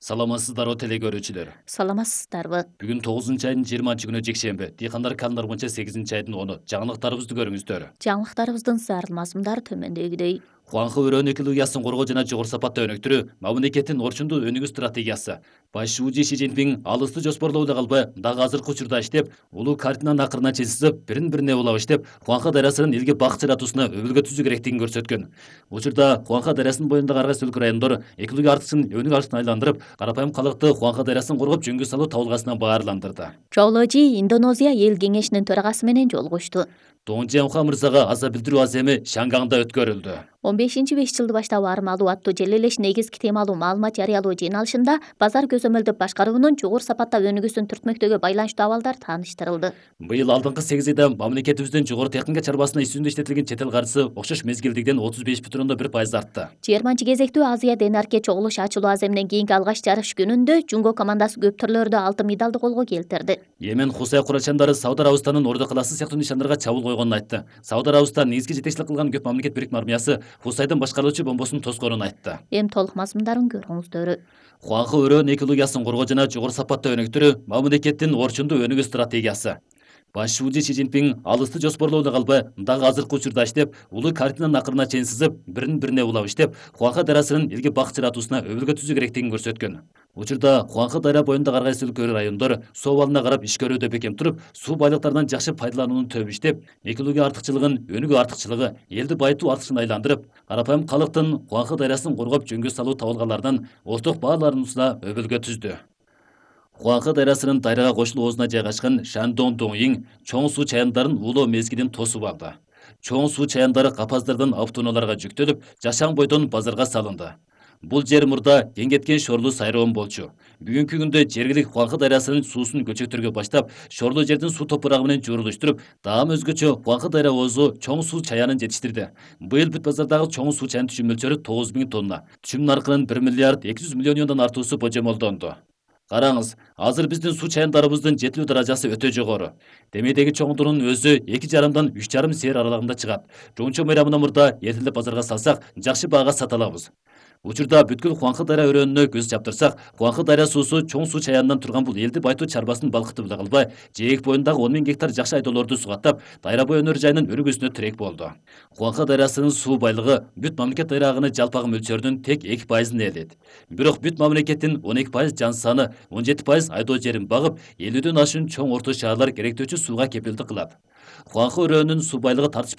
Саламатсыздарбы теле көрүүчүлөр. Саламатсыздарбы. Бүгүн 9-айдын 20-күнү жекшемби. Дыйкандар календар боюнча 8-айдын 10-у. Жаңылыктарыбызды көрүңүздөр. Жаңылыктарыбыздын зарыл мазмундары төмөндөгүдөй. Хуанхэ өрөөнүн экологиясын коргоо жана жогору сапатта өнүктүрүү мамлекеттин орчундуу өнүгүү стратегиясы. Баш шүүжү Си Цзиньпин алысты жоспорлоо эле калбай, дагы азыркы учурда иштеп, улуу картинанын акырына чейин сызып, бирин-бирине улап иштеп, Хуанхэ дарыясынын элге бак жаратуусуна өбөлгө түзүү керектигин көрсөткөн. Учурда Хуанхэ дарыясынын боюндагы ар кайсы өлкө райондор экология артыкчылыгын өнүгүү артына айландырып, карапайым калкты Хуанхэ дарыясын коргоп жөнгө салуу табылгасына баарландырды. Чооложи Индонезия эл кеңешинин төрагасы менен жолугушту. Доңжианха мырзага аза билдирүү аземи Шангаңда өткөрүлдү. 15-5 жылды баштап армалуу аттуу жел элеш негизги темалуу маалымат жарыялоо жыйналышында базар көзөмөлдөп башкаруунун жогору сапатта өнүгүүсүн түртмөктөгү байланыштуу абалдар тааныштырылды. Быйыл алдыңкы 8 айда мамлекетибиздин жогору техника чарбасына иш жүзүндө иштетилген чет эл каржысы окшош мезгилдигиден 35,1% артты. 20 кезектүү Азия Денарке чогулуш ачылуу аземинен кийинки алгач жарыш күнүндө Жунго командасы көп түрлөрдө алтын медалды колго келтирди. Йемен Хусай курачандары Сауд Арабистанын Ордо калаасы сыяктуу нишандарга чабуул койгонун айтты. Сауд Арабистан негизги жетекчилик кылган көп мамлекет бирикме армиясы Хусайдын башкаруучу бомбосун тоскоонун айтты. Эми толук мазмундарын көрүңүздөр. Хуанхэ өрөөнүн экологиясын коргоо жана жогору сапатта өнүктүрүү мамлекеттин орчундуу өнүгүү стратегиясы. Баш шүүжү Си Цзиньпин алысты жоспорлоо эле калбай, дагы азыркы учурда иштеп, улуу картинанын акырына чейин сызып, бирин-бирине улап иштеп, Хуанхэ дарыясынын элге бак жаратуусуна өбөлгө түзүү керектигин көрсөткөн. Учурда Хуанхэ дарыя боюндагы ар кайсы өлкө райондор суу абалына карап иш көрүүдө бекем туруп, суу байлыктарынан жакшы пайдаланууну төп иштеп, экология артыкчылыгын өнүгүү артыкчылыгы, элди байытуу артыкчылыгына айландырып, карапайым калктын Хуанхэ дарыясын коргоп жөнгө салуу табылганлардан орток баалануусуна өбөлгө түздү. Хуанхэ дарыясынын дайрага кошулуу оозуна жайгашкан Шандон Доңиң чоң суу чаяндарын уулоо мезгилин тосуп алды. Чоң суу чаяндары капаздардын автоунааларга жүктөлүп, жашаң бойдон базарга салынды. Бул жер мурда кең кеткен шорлуу сайроон болчу. Бүгүнкү күндө жергилик Хуанхэ дарыясынын суусун көчөктөргө баштап, шорлуу жердин суу топурагы менен жуурулуштуруп, даам өзгөчө Хуанхэ дарыя оозу чоң суу чаянын жетиштирди. Быйыл бүт базардагы чоң суу чаянын түшүм мөлчөрү 9000 тонна. Түшүм наркынын 1 миллиард 200 миллион юандан артуусу божомолдонду. Караңыз, азыр биздин суу чаяндарыбыздын жетилүү даражасы өтө жогору. Демейдеги чоңдуунун өзү 2,5-дан 3,5 сээр аралыгында чыгат. Жончо майрамына мурда эртелеп базарга салсак, жакшы баага сата алабыз. Учурда бүткүл Хуанхэ дарыя өрөөнүнө көз чаптырсак, Хуанхэ дарыя суусу чоң суу чаянынан турган бул элди байытуу чарбасын балкытып эле калбай, жээк боюндагы 10 000 гектар жакшы айдоолорду сугаттап, Дайрабой өнөр жайынын өнүгүүсүнө тирек болду. Хуанхэ дарыясынын суу байлыгы бүт мамлекет дайрагынын жалпагы мөлчөрүнүн тек 2%-ын ээлейт. Бирок бүт мамлекеттин 12% жан саны, 17% айдоо жерин багып, 50дөн ашуун чоң орто шаарлар керектөөчү сууга кепилдик кылат. Хуанхэ өрөөнүнүн суу байлыгы тартыш